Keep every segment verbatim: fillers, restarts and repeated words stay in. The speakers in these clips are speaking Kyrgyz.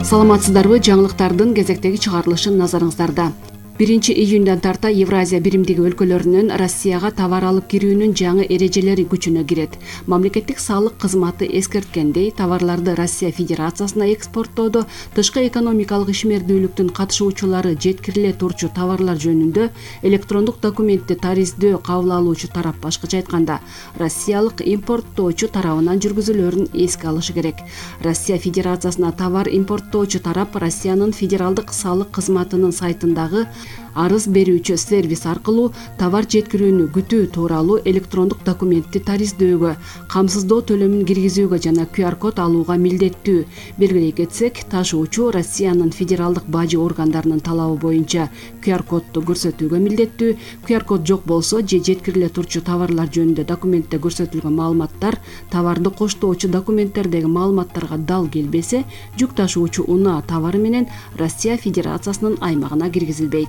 Саламатсыздарбы, жаңылыктардын кезектеги чыгарылышын назарыңыздарда. биринчи июндан тарта Евразия биримдиги өлкөлөрүнөн Россияга товар алып кирүүнүн жаңы эрежелери күчүнө кирет. Мамлекеттик салык кызматы эскерткендей, товарларды Россия Федерациясына экспорттоодо тышкы экономикалык ишмердүүлүктүн катышуучулары жеткириле турчу товарлар жөнүндө электрондук документти тариздөө кабыл алуучу тарап, башкача айтканда, россиялык импорттоочу тарабынан жүргүзүлөрүн эске алышы керек. Россия Федерациясына товар импорттоочу тарап Россиянын федералдык салык кызматынын сайтындагы арыз берүүчү сервис аркылуу товар жеткирүүнү күтүү тууралуу электрондук документти тариздөөгө, камсыздоо төлөмүн киргизүүгө жана ку ар код алууга милдеттүү. Белгилей кетсек, ташуучу Россиянын федералдык бажы органдарынын талабы боюнча ку ар кодду көрсөтүүгө милдеттүү. ку ар код жок болсо же жеткириле турчу товарлар жөнүндө документте көрсөтүлгөн маалыматтар товарды коштоочу документтердеги маалыматтарга дал келбесе, жүк ташуучу унаа товары менен Россия Федерациясынын аймагына киргизилбейт.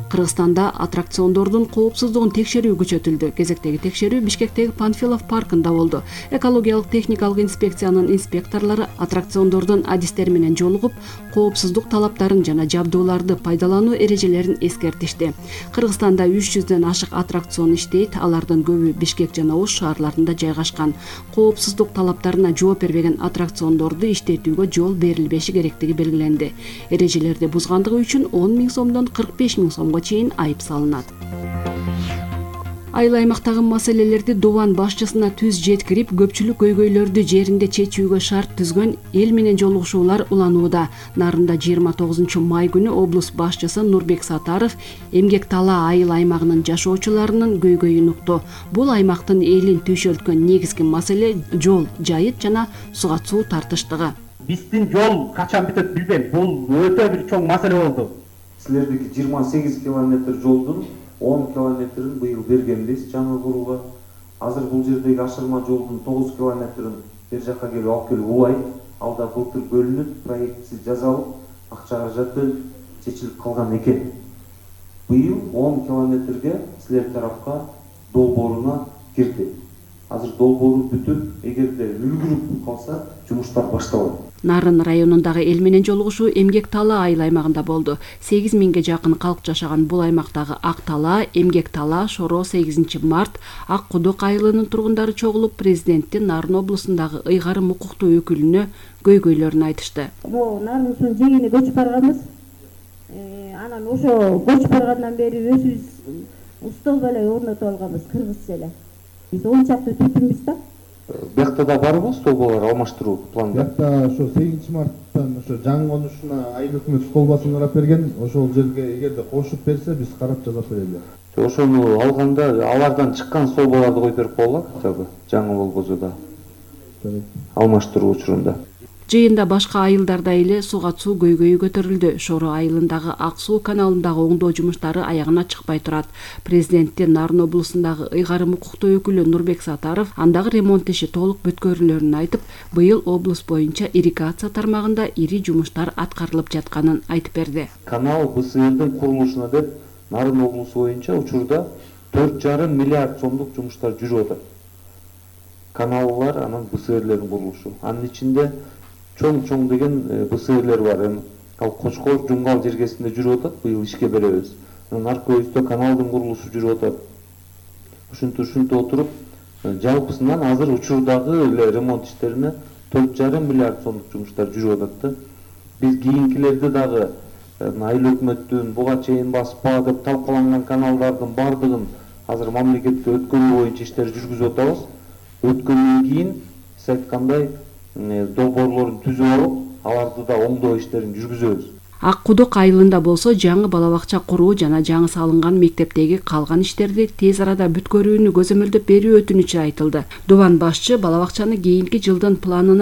Кыргызстанда аттракциондордун коопсуздугун текшерүү күчөтүлдү. Кезектеги текшерүү Бишкектеги Панфилов паркында болду. Экологиялык техникалык инспекциянын инспекторлору аттракциондордун адистери менен жолугуп, коопсуздук талаптарын жана жабдууларды пайдалануу эрежелерин эскертишти. Кыргызстанда үч жүздөн ашык аттракцион иштейт, алардын көбү Бишкек жана Ош шаарларында жайгашкан. Коопсуздук талаптарына жооп бербеген аттракциондорду иштетүүгө жол берилбеши керектиги белгиленди. Эрежелерди бузгандыгы үчүн он миң сомдон кырк беш миң сомго чейин айып салынат. Айыл аймактагы маселелерди Дубан башчысына түз жеткирип, көпчүлүк көйгөйлөрдү жеринде чечүүгө шарт түзгөн эл менен жолугушуулар уланууда. Нарында жыйырма тогузунчу май күнү облус башчысы Нурбек Сатаров Эмгек Тала айыл аймагынын жашоочуларынын көйгөйүн укту. Бул аймактын элин түйшөлткөн негизги маселе жол, жайыт жана суга суу тартыштыгы. Биздин жол качан бүтөт билбейм. Бул өтө бир чоң маселе болду. Силердики жыйырма сегиз километр жолдун он километрин быйыл бергенбиз жаңы курууга. Азыр бул жердеги ашырма жолдун тогуз километрин бер жакка келип алып келип улайт. Ал да былтыр бөлүнүп, проектси жасалып, акча каражаты чечилип калган экен. Быйыл он километрге силер тарапка долбооруна кирди. Азыр долбоору бүтүп, эгерде үлгүрүп калса, жумуштар башталат. Нарын районундагы эл менен жолугушуу Эмгек Тала айыл аймагында болду. сегиз миңге жакын калк жашаган бул аймактагы Ак Тала, Эмгек Тала, Шоро, сегизинчи март, Ак Кудук айылынын тургундары чогулуп, президенттин Нарын облусундагы ыйгарым укуктуу өкүлүнө көйгөйлөрүн айтышты. Бул Нарын ушунун жегине көчүп барганбыз. Анан ошо көчүп баргандан бери өзүбүз устол эле орнотуп алганбыз, кыргызча эле. Биз он чакты түтүнбүз да. Биякта да барбы столболор алмаштыруу планда? Биякта ошо сегизинчи марттан ошо жаңы конушуна айыл өкмөт столбасын карап берген. Ошол жерге эгерде кошуп берсе, биз карап жазап берели. Ошону алганда алардан чыккан столболорду коюп берип коелу хотя бы жаңы болбосо да. Алмаштыруу учурунда. Жыйында башка айылдарда эле суга суу көйгөйү көтөрүлдү. Шоро айылындагы Ак суу каналындагы оңдоо жумуштары аягына чыкпай турат. Президенттин Нарын облусундагы ыйгарым укуктуу өкүлү Нурбек Сатаров андагы ремонт иши толук бүткөрүлөрүн айтып, быйыл облус боюнча ирригация тармагында ири жумуштар аткарылып жатканын айтып берди. Канал Б С Рдин курулушуна деп Нарын облусу боюнча учурда төрт жарым миллиард сомдук жумуштар жүрүп атат. Каналлар анан Б С Рлердин курулушу. Анын ичинде чоң-чоң деген Б С Рлер бар. Эми ал Кочкор, Жунгал жергесинде жүрүп атат, быйыл ишке беребиз. Анан Аркөйүздө каналдын курулушу жүрүп атат. Ушинтип ушинтип отуруп, жалпысынан азыр учурдагы эле ремонт иштерине төрт жарым миллиард сомдук жумуштар жүрүп атат да. Биз кийинкилерди дагы айыл өкмөттүн буга чейин баспа деп талкаланган каналдардын бардыгын азыр мамлекетте өткөрүү боюнча иштер жүргүзүп атабыз. Өткөндөн кийин сиз айткандай долбоорлорун түзүп алып, аларды да оңдоо иштерин жүргүзөбүз. Ак Кудук айылында болсо жаңы бала бакча куруу жана жаңы салынган мектептеги калган иштерди тез арада бүткөрүүнү көзөмөлдөп берүү өтүнүчү айтылды. Дубан башчы бала бакчаны кийинки жылдын планына